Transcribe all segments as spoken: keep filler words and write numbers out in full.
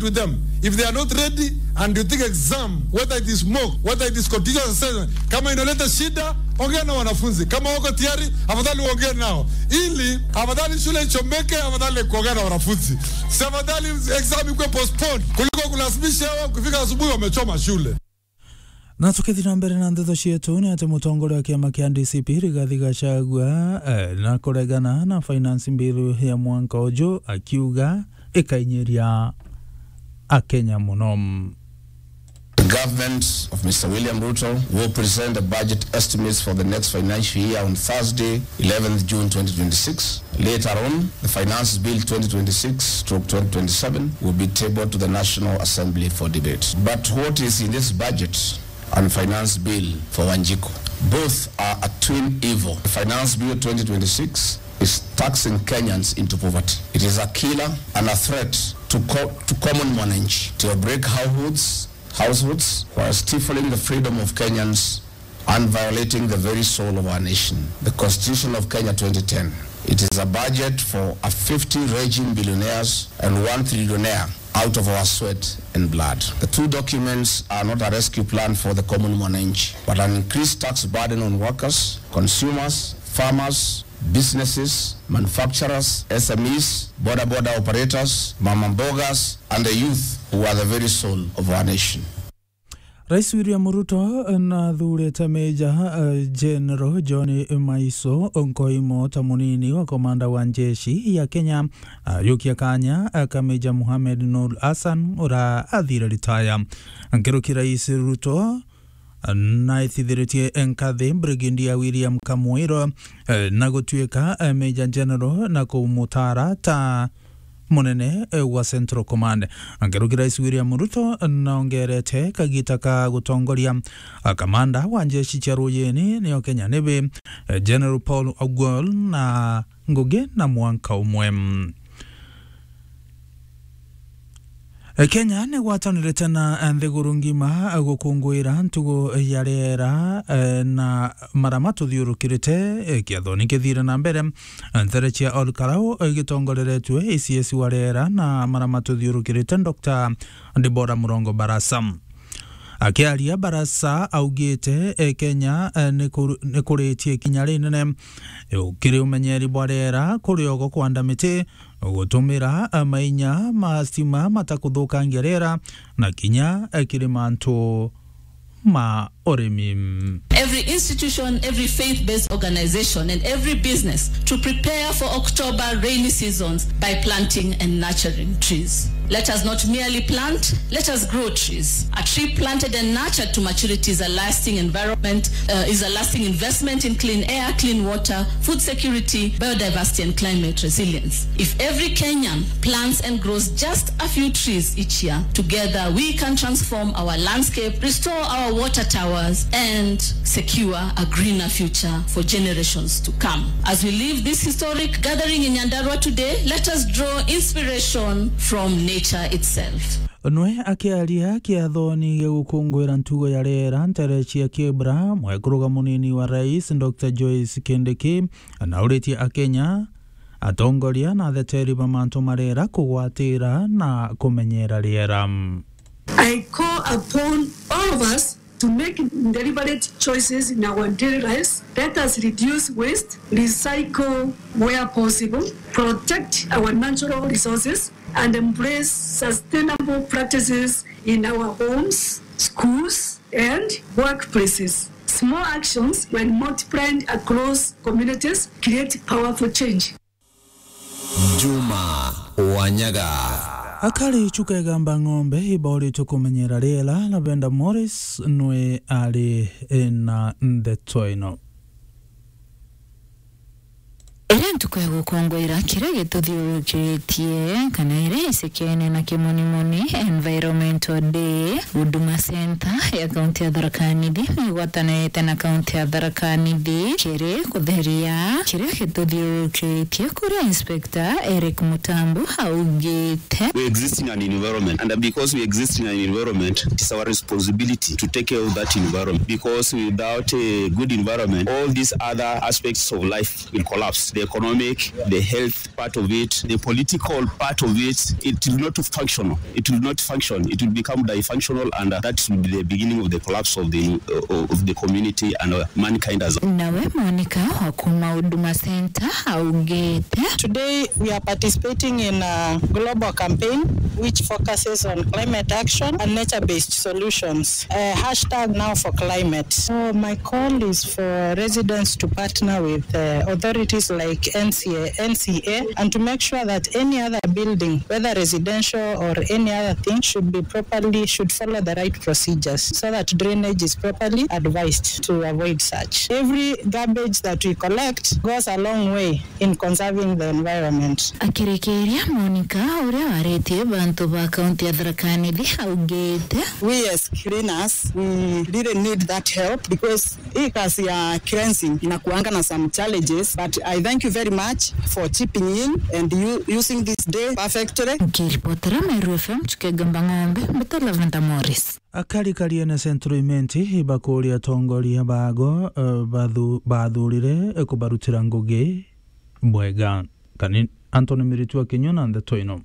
with them. If they are not ready and you think exam, whether it is mock, whether it is continuous assessment, kama inaleta shida, ongea na wanafunzi. Kama wako tayari, afadhali uongee nao. Ili, afadhali shule ichomeke, afadhali kuongea na wanafunzi. Si afadhali exam ikuwe postponed, kuliko kulazimisha wao kufika asubuhi wamechoma shule. Na tukithi na mbere na ndeto cietu, ni ati mutongoria wa kiama kia D C P Rigathi Gachagua, eh, na kuregana na finance bill ya mwanka uju, akiuga ikainyiria Akenya muno. The government of Mister William Ruto will present the budget estimates for the next financial year on Thursday, eleventh June twenty twenty-six. Later on, the Finance Bill twenty twenty-six stroke twenty twenty-seven will be tabled to the National Assembly for debate. But what is in this budget and Finance Bill for Wanjiko? Both are a twin evil. The Finance Bill twenty twenty-six is taxing Kenyans into poverty. It is a killer and a threat to co-, to common mwananchi, to break households, households, while stifling the freedom of Kenyans and violating the very soul of our nation. The Constitution of Kenya twenty ten, it is a budget for a fifty raging billionaires and one trillionaire out of our sweat and blood. The two documents are not a rescue plan for the common mwananchi, but an increased tax burden on workers, consumers, farmers, businesses, manufacturers, S M Es, boda boda operators, mama mbogas, and the youth who are the very soul of our nation. Rais William Ruto nathurite Major, eh, General John Maiso Nkoimo ta munini wa komanda wa njeshi ya Kenya, ayukia kanya ka Major Mohamed Noor Hassan ura athire ritaya. Nkuruki Rais Ruto naitithiritie nkathi Brigadier William Kamwiro, eh, na gutuika, eh, Major General na kumutara ta munene, eh, wa Central Command. Nkuruki Rais William Ruto naongerete kagita ka gutongoria, ah, kamanda wa njeshi cia ruyini nio Kenya Navy, eh, General Paul Ogwal na ngugi na mwanka umwe. Eh, Kenya ni gwatanirite na, eh, nthiguru ngima, eh, gukunguira ntugo ya riera, eh, na mara matuthiurukirite, eh, kiathoni kithire na mbere. Ntere cia Ol Kalou igitongoreretue I C S wa riera na mara matuthiurukirite, Doctor Deborah Murongo Barasa. Akiaria, Barasa augite, eh, Kenya, eh, ni kuru-, ni kuritie ikinya rinene, eh, kiri umenyeri bwa riera, kuri ogo kwanda miti, gutumira, eh, mainya ma stima matakuthukangia riera, na kinya, eh, kiri mantu ma urimi. Every institution, every faith-based organization, and every business to prepare for October rainy seasons by planting and nurturing trees. Let us not merely plant, let us grow trees. A tree planted and nurtured to maturity is a lasting environment, uh, is a lasting investment in clean air, clean water, food security, biodiversity, and climate resilience. If every Kenyan plants and grows just a few trees each year, together we can transform our landscape, restore our water towers, and secure a greener future for generations to come. As we leave this historic gathering in Nyandarua today, let us draw inspiration from nature itself. Nwe akiaria kiathoni gia gukunguira ntugo ya riera ntere cia Kibra, mwekuru munini wa rais, Doctor Joyce Kindiki, nauritie Akenya, atongoria na atheteri ba mantu ma riera kugwatira na kumenyera riera. I call upon all of us to make deliberate choices in our daily lives. Let us reduce waste, recycle where possible, protect our natural resources, and embrace sustainable practices in our homes, schools, and workplaces. Small actions, when multiplied across communities, create powerful change. Juma Wanyaga. Akari Chuka Igamba Ng'ombe ibaurite kumenyera riera, Lavender Morris nwe ari na ndeto ino. Iria ntuku ya gukongoira kiria gituthiurukitie, kana iria isekene na kimonimoni, Environmental Day, Huduma Center ya kaunti ya Tharaka Nithi ni igwatanirite na kaunti ya Tharaka Nithi kiri kutheria kiria gituthiurukitie, kuria Inspector Eric Mutambu augite. We exist in an environment, and because we exist in an environment, it is our responsibility to take care of that environment, because without a good environment, all these other aspects of life will collapse. the economic, the health part of it, the political part of it, it will not function. It will not function. It will become dysfunctional, and uh, that will be the beginning of the collapse of the uh, of the community and uh, mankind as. Nawe Monica wa kuma Huduma Center augite, today we are participating in a global campaign which focuses on climate action and nature-based solutions. Uh, hashtag now for climate. So my call is for residents to partner with uh, authorities like N C A, N C A, and to make sure that any other building, whether residential or any other thing, should be properly, should follow the right procedures so that drainage is properly advised to avoid such. Every garbage that we collect goes a long way in conserving the environment. Akirikiria, Monica, uria waritie bantu ba kaunti ya Tharaka Nithi, augite, we as cleaners, we really need that help because hii kazi ya cleansing inakuanga na some challenges, but I thank you very much for chipping in and you using this day perfectly. Nkiripotera Meru F M, Chukegamba Ng'ombe, Mbita Lavenda Morris. Akari Kariene Central Imenti bakuria atongoria bago, eh, bathu-, bathurire, eh, kubarutira ngugi bwega. Kani Anthony Miritu akinyua na ndeto ino.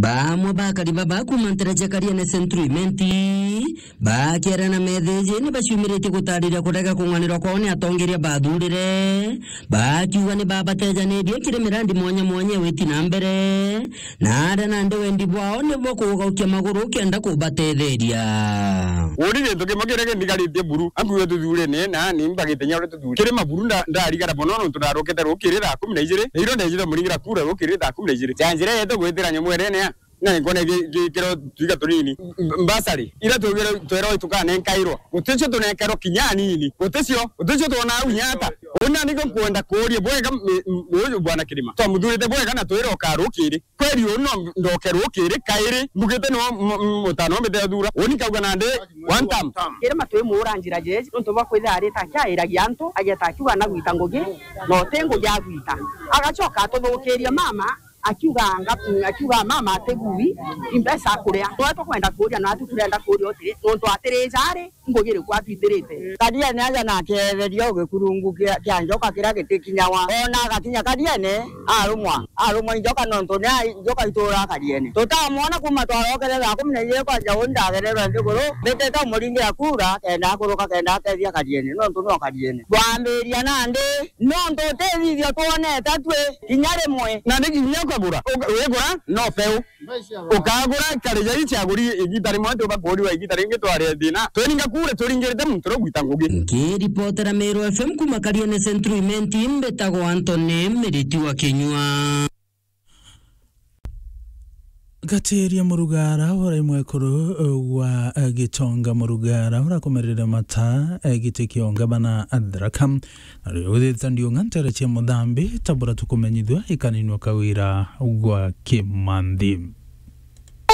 Bamwe ba akari baba kuma ntera cia Kariene Central Imenti bakiara na metheji ni baciumiritie gutariria kurega kung'anirwa kwao ni atongeria bathurire, bakiuga ni babatejanirie kiri mirandi mwanya mwanya witi na mbere. Na aria nandi wendi bwao nibo kugaukia maguru kenda kubatetheria. Uni gintu kimwe kiria kindigaritie buru, ankuuga tuthurene, na ni mbagite nya uria tuthurene. Kiri maburu nda-, ndarigara mono nontu ndarukite rukiri thaa kumi na ijiri, na irio ndejite muringira kura rukiri thaa kumi na ijiri. Ja njira yetu gwitira nyamu erene ya, na nkona gi-, gikiro twiga tunini. M-, mbasari, ira twigire twero tukanenkairwa. Guticio tunenkairwa kinya anini. Guticio, guticio twona au inya ata. Uni nani nkwenda kuuria bwega, m-, m-, uyu bwana Kirima. Twamuthurite bwega na twira ukarukiri. Kweri uu no ndoke rukiri kairi, mbugite niwe m-, m-, mutano mbite thura. Uni kauga nandi one term. Kirima twimuura njira jeji, nontu bwa kwithira arita akiairagia antu, ageta akiuga na gwita ngugi, na uti ngugi agwita. Agacoka atuthukiria mama, akiuga nga-, akiuga mama atigui, imbeca akuria. Niwe tukwenda kuuria, na atu turenda kuuria utiri, nontu atiri jari, ngugi iriku atwitirite. Kariene aja na akeetheria o gikurungu kia, kia njoka kiria gitikinyawa. Ona agakinya Kariene, arumwa, arumwa i njoka nontu ni a-, njoka ituura Kariene. Tutamwona kuma twarokere thaa kumi na ijiri kwanja uu ndagererwe nthiguru, mbitite umuringira kura, kenda akuruka, kenda ateethia Kariene, nontu nio Kariene. Twambiria nandi, nontu utithithio twonete twi kinya rimwe. Na ni kinya ukagura, uka-, wigura no peu. Ukagura ikari ja ici aguri igita rimwe, tuba kuuriwa igita ringi twaria thina. Twiringa kuure, twiringirite muntu rio gwita ngugi. Nkiripotera Meru F M kuma Kariene Central Imenti, mbitagwa Anthony Miriti wa Kinyua. Gatiria Murugara, uria mwekuru wa, eh, Gitonga Murugara, urakomerere mata, eh, giti kia ungabana Tharaka. Na riu withite ndiunga ntere cia Muthambi, tabura tukumenyithua ikaninua kawira gwa Kimanthi.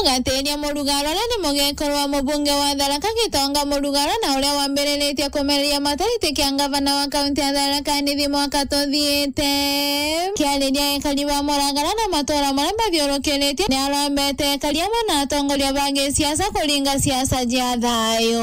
Gatiria Murugara, uria ni mugekuru wa mubunge wa Tharaka Gitonga Murugara, na uria wambiriritie kumereria mata giti kia ngavana wa kaunti ya Tharaka Nithi mwaka tuthiite. Kiariria ekari ba Murugara na matura maria mathiurukiritie, ni arombete ekari amwe na atongoria ba gisiasa kuringa siasa cia thayu.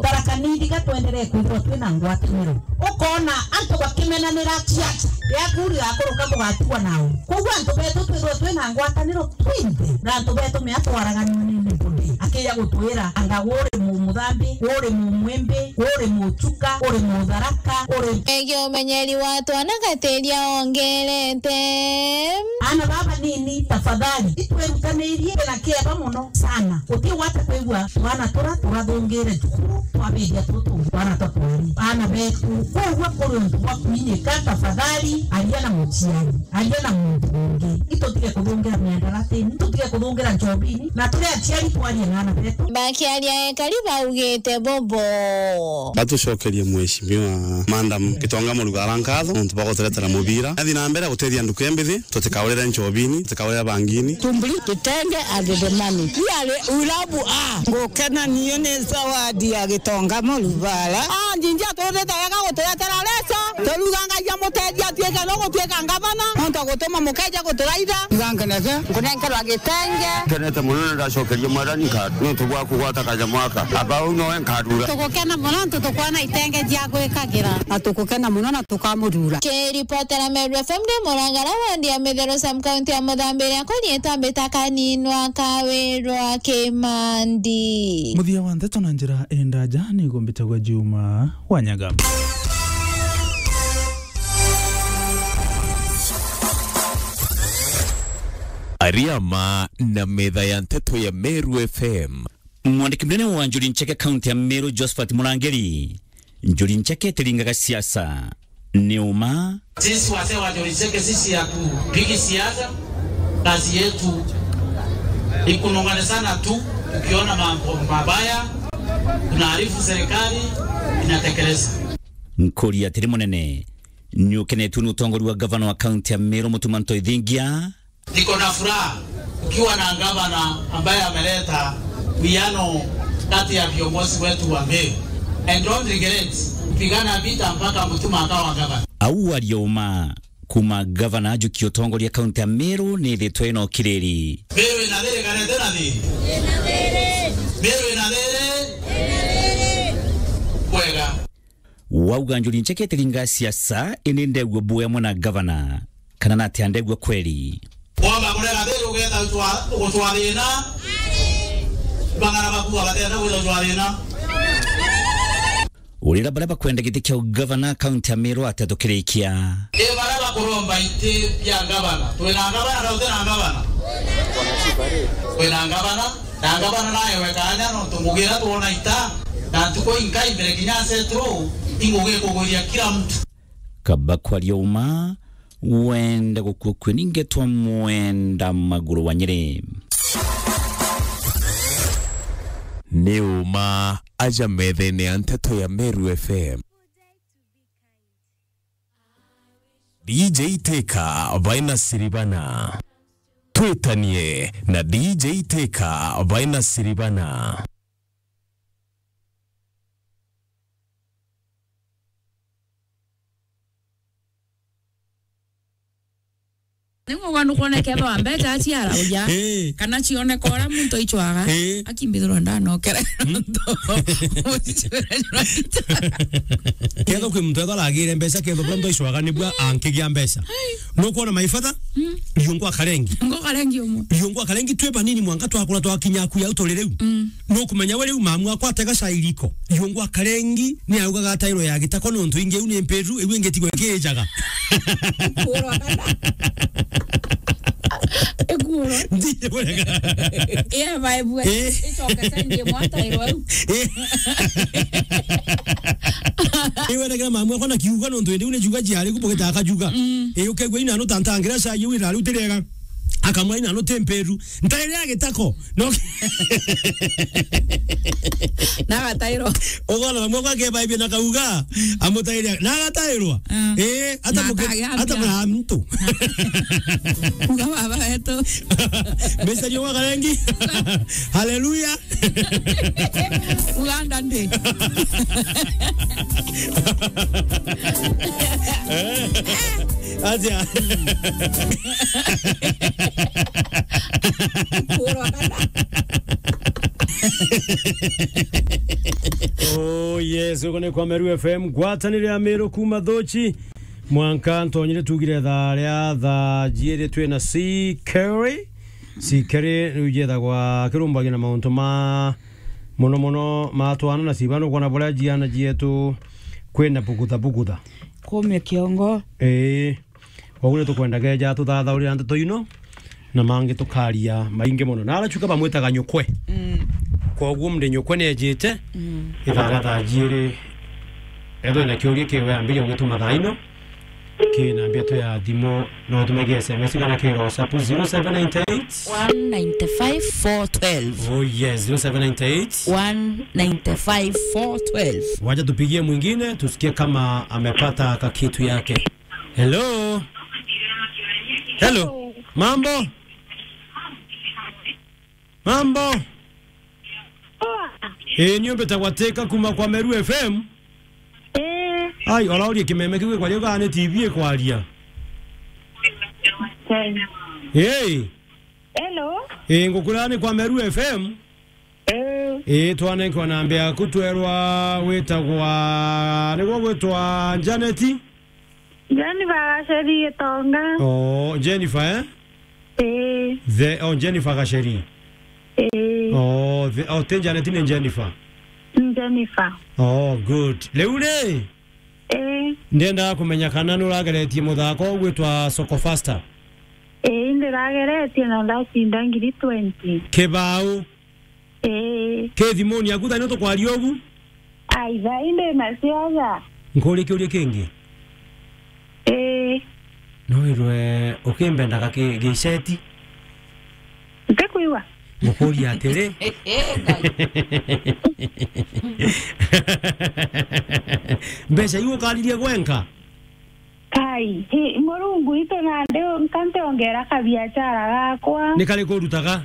Tharaka Nithi ga twenderee kwithirwa twina ngwataniro. Ukoona antu bakimenanira ciaca, yaku rigakuruka bugatigwa nau. Koguo antu betu twithirwe twina ngwataniro twinthe, na antu betu mea twaraganua ni nibudi. Akija gutwira, anga uri mu-, Muthambi, uri mu-, Mwimbi, uri Muchuka, uri Mutharaka, uri. Egie umenyeri wa twana Gatiria ongerete. Aana baba nini, tafadhali, itwerutanirie na kieba mono sana. Uti wate kwigua twana tura turathungire cukuru, twabiria tutu twana twa kweri. Aana betu, kwigua kuri untu bwa kwinyika, tafadhali, aria na muciari, aria na muntu ungi. Itutige kuthungira miandaratini, tutige kuthungira njobini, na turi aciari twarie na aana betu. Bakiaria ekari baugite bobo. Batucokerie Mheshimiwa Madam Gitonga Murugara nkatho nontu bwa guturetera mubira. Athi na mbere gutethia nduku embithi, tutikaurire njobini, tutikaurire bangini. Tumbuli, kitenge and the money. Yale ulabu a. Ngukena niyo ni zawadi ya Gitonga Murugara. Ah, njinji atuthite wega guturetera leso. Turuga Ngai amutethie atuike no gutuika ngavana, nontu agutuma mukeja guturaitha. Ruga nkenete. Nkunenkerwa gitenge. Nkenete mono na ndacokeria Mwathani nkatho nontu bwa kugwata kanyamo aka. Aba uu nowe nkarura. Tugukena mono nontu tukwona itenge cia gwikagira. Na tugukena mono na tukamurura. Kiripotera Meru F M ndi Murangara, wandi ya Mitheru, sub county ya Muthambiria, kuni itambita kaninwa kawirwa Kimandi. Muthia wa ndeto na njira indaja ni gumbitagwa Juma Wanyaga. Ariama na metha ya nteto ya Meru F M. Mwandiki munene wa Njuri Ncheke kaunti ya Meru, Josephat Murangiri, Njuri Ncheke itiringaga siasa. Ni uma. Sisi wazee wa Njuri Ncheke, sisi hatupigi siasa. Kazi yetu ni kunong'onezana tu, tukiona mambo mabaya, tunaarifu serikali inatekeleza. Nkuri atiri munene, ni ukenetue ni utongori wa gavana wa kaunti ya Meru, Mutuma Ntoithingia? Niko na furaha ukiwa na gavana ambaye ameleta uwiano kati ya viongozi wetu wa Meru. And don't regret kupigana vita mpaka Mutuma akawa gavana. Au aria uma kuma gavana ajukia utongoria kaunti ya Meru ni ithitwe ino kiriri. Meru ina thiri kana itina thiri? Meru ina thiri? Kwega. Wauga Njuri Ncheke itiringa siasa, indi ndegua buu amwe na gavana, kana natia ndegua kweri? Womba kurega thiri ugeeta gutwa-, gutwa thina, bang'ana baku bagatenda gwita gutwa thina. Urira baria bakwenda giti kia ugavana kaunti ya Meru atia tukirikia? Ni baria bakuromba iti bia gavana. Twina gavana na tutina gavana? Twina gavana. Na ngavana naewe kaanya, nontu ngugi iria twona ita, na ntuku inkai mbere kinya asetru, ingugi ikugwiria kila mtu. Kaba kwaria uma, wenda gukua kue ningetwa Mwenda Maguru wa Nyeri. Ni uma aja methene ya nteto ya Meru F M. D J Teka baina Siribana. Twitanie na D J Teka baina Siribana. Ningwa nukwoneka ethwa mbeca aciara uja. Eh. Kana cioneka uria muntu aicwaga. Eh. Akimbithirwa ndanokere. Ketho kwi muntu ethwa aragire mbeca, ketho bura muntu aicwaga nibua ankigia mbeca. Nukwona my father? Mm. Riungwa karengi. Ngo karengi umwe. Riungwa karengi twi banini mwanka twakura twakinya ku yau turi riu. Mm. Nukumenya we riu mamu akwa atega cai riko. Riungwa karengi ni augaga atairwo ya gitako nontu ingi iu ni mpiru, iu ingi tigwe kiijaga. Ikuurwa kana? Ikuurwa. Ndiye burega. Iya, bae bue. Eh. Icoke sendi imwe atairwo au. Eh. Iweregera mamu akwa na kiuga nontu indi u ni juga jiari ku bugita akajuga. Mm. Eh, ukegwa ina no tantangira cai iu irari utiriega. Akamwa ina no temperu. Ntaire ya gitako. No. Na agatairwa. Ugona na mwaka ke baibia na kauga, amutaire. Na agatairwa. Ah. Eh, ata na muke-, akagambia. Ata mura mtu. Uga baba wetu. Mbeca ni wa karengi. Haleluya. Uganda ndi. Atia. Oh, yes, uko ni kwa Meru F M, ngwatanire ya Meru kuma Thuchi. Mwanka ntonyire tugire thaa ria thaa jiiri twi na C Kerry. C Kerry riu jethagwa kirumbagia na mauntu ma muno muno ma twana na ciba, nukwona buria jiana jietu kwina bugutha bugutha. Kumia kiongo. Ii. Koguo ni tukwenda geja tuthathaurira ndeto ino, na mangi tukaria maingi mono. Na arachuka bamwitaga nyukwe. Mm. Koguo mndi nyukwe ni ejite, mm, ithaa ria thaa jiiri. Ethwe na kiuria kiwe ambiria ugituma thaa ino. Ki namba yetu ya thimu, no utume ki S M S kana ki WhatsApp zero seven nine eight. One nine five four twelve. Oh yes, zero seven nine eight. One nine five four twelve. Wacha tupigie mwingine, tusikie kama amepata kakitu yake. Hello. Hello. Hello. Mambo? Mambo? Poa. Eh, niumbite gwateka kuma kwa Meru F M. Eh. Ai, oraurie kimeme kiu gikwaria ugaa ni T V ikwaria. Hey. Hello. Eh, ngukura ni kwa Meru F M. Eh. Eh, twanenkwa namba yaku, twerwa witagwa, niguo gwitwa Janet? Jennifer Gacheri Gitonga. Oh, Jennifer, eh? Eh. The, oh, Jennifer Gacheri. Eh. Oh, the, oh, ti Janet, ni Jennifer. Jennifer. Oh, good. Riu ri? Eh. Ndiendaga kumenya kana nurageretie muthako ugwitwa Soko Faster. Eh, ndirageretie na ndacinda ngiri twenty. Kibau. Ii. Ki thimuni yaku thaa ino tukwaria ubu? Ai, thaa ii ndi na ciaja. Nkurie kiuria kingi? Ii. No wirwe ukimbendaga ki-, giceti? Ntikwigua. Ngukuria atiri. Mbeca iu ukaririe gwenka? Kai, hi, Murungu itu nandi nka ntiongera kabiachara gakwa. Ni kariku urutaga?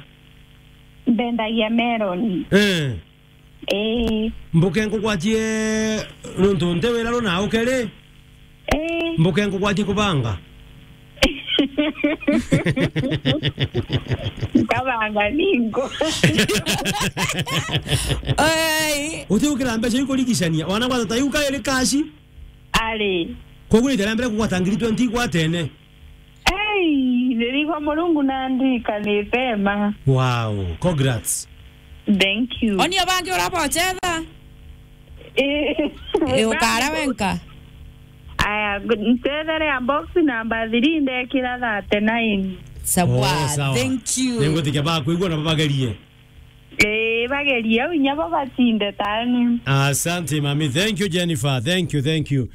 Mbendagia melon. Eh. Ii. Mbuke nkugwatie nuntu nti wira runa ukeri? Ii. Mbuke nkugwatie kubanga? Nkabanga ningo. Ai. Uti ukira mbeca ikurigicania, wana gwata ta iu kairi kaci? Ari. Koguo ithera mbere kugwata ngiri twenty igwatene. Ei, ndirigwa Murungu na ndirikanite ma. Wow, congrats. Thank you. Oni abangi urabochera? Eh, eh, ukara wenka? Aya, nchethere ya box number three ndekira thirty-nine. Sawa, oh, sawa. Thank you. Ningutikia bakwigua na babagerie. Eh, bagerie au inya bo batinde tani. Asante, mami. Thank you, Jennifer. Thank you, thank you.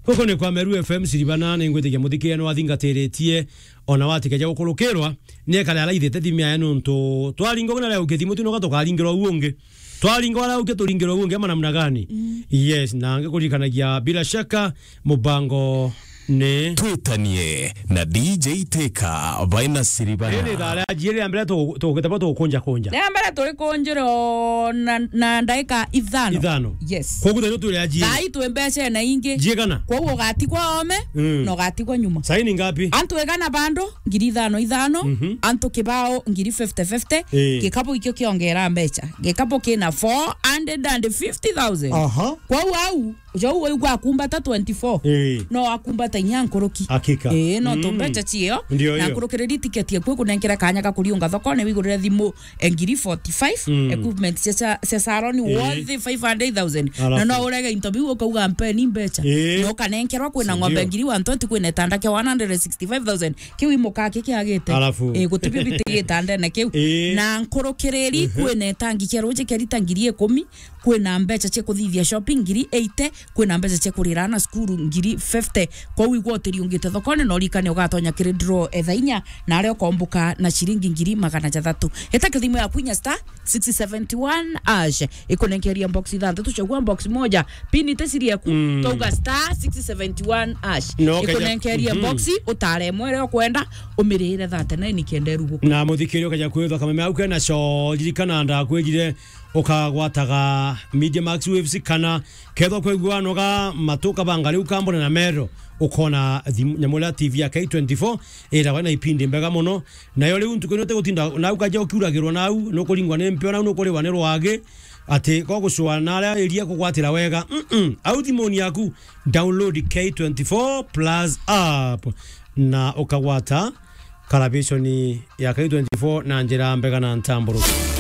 Guku ni kwa Meru F M Siribana, ni ngwitikia muthikiria ni wathingatiritie, ona watikeja gukurukirwa, ni ekare araithite thimu yae nuntu twaringa ugu na riu kithimu tu noka tukaringirwa u ungi. Twaringa wara uke turingirwa u ungi ama namna gani? Mm. Yes, na ngikuririkanagia bila shaka mubango ni Twitanie na D J Teka, baina Siribana. Riri thaa ria njiri ria mbere tu-, tugite bo tukunja kunja. Ria mbere turi kunjiro na, na ndaika ithano. Ithano. Yes. Koguo thaa ino turi ajiri. Thaa ii twi mbeca na ingi. Njigana? Koguo ugatigwa ome, mm, na ugatigwa nyuma. Saini ngapi? Antu igana bando, ngiri ithano ithano, mhm, antu kibao, ngiri fifty fifty, ii, gikabu ikio kiongera mbeca. Gikabu kina four hundred and fifty thousand. Aha. Kwou au, jau waigua akumbata twenty-four. Ii. No akumbata inya nkuruki. Hakika. Ii, no, mm, tumbeca cio. Ndio, na ndio. Nkurukiriri tiketi eku ikunenkera kanya ga kuriunga thokone wigurire thimu, eh, ngiri forty-five, mm, equipment cia, cia, cia salon, ii, worth five hundred thousand. Alafu. Na no urege into biu ukauga mpeni mbeca. Ii. No ukanenkerwa kwina, si ng'ombe ndio, ngiri one twenty, kwina itanda kia one hundred sixty-five thousand. Kiu imuka ki kiagite. Alafu. Ii, gutibio biti gitandene kiu. Ii. Na nkurukiriri, mhm, kwina itangi kia ruji kia rita ngiri ikumi. Kwina mbeca cia kuthithia shopping ngiri eighty, kwina mbeca cia kurira ana cukuru ngiri fifty. Kwou igwa utiriungite thokone, na urikane ugatonya kiri draw etha inya, na aria ukombuka na ciringi ngiri magana jathatu. Ita kithimu yaku inya star six seventy one hash, ikunenkeria box ithanthatu, chagua box moja, pin ite siri yaku, mm, twauga star six seventy one hash. No, kaja, ikunenkeria, mhm, box, utare imwe iria ukwenda, umirire thirty-nine kenda iruguka. Na muthikiri ukaja kwithwa kameme au kena cho, ririkana ndakwirire, ukagwataga Media Max Waves kana kethwa kwigua noga matu kabanga riu kambone na mero, ukona thimu, nyamu iria T V ya K twenty-four irawa na ipindi mbega muno. Nayo riu ntuku ino tigutinda nau kaja ukiuragirwa nau, nukuringwa ni mpio nau, nukuriwa ni rwagi, ati ko gucua na aria iria kugwatira wega. Mm-mm. Au thimuni yaku, download K twenty-four Plus app na ukagwata karabiconi ya K twenty-four na njira mbega na ntamburuku.